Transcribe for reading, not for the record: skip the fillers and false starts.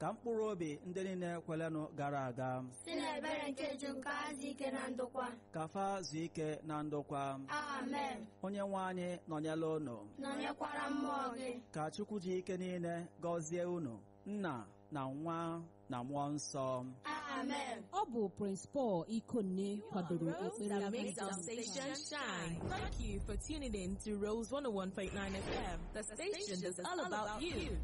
Ka mkpụrụ obi ndị niile kwelenụ gara aga si n'ebere nke Chukwu ka ha zuo ike na ndokwa. Ka fa zuo ike na ndokwa. Amen. Onye nwe anyị nọnyela unu. Nọnyekwara mmụọ gị. Ka Chukwu ji ike niile gọzie unu, Nna na Nwa na Mmụọ Nsọ. Amen. Ọ bụ Prince Paul Ikonne kwadoro Rose ekpere that makes our ndị station shine. Thank you for tuning in to Rose 101.9 FM, the station that's all about you.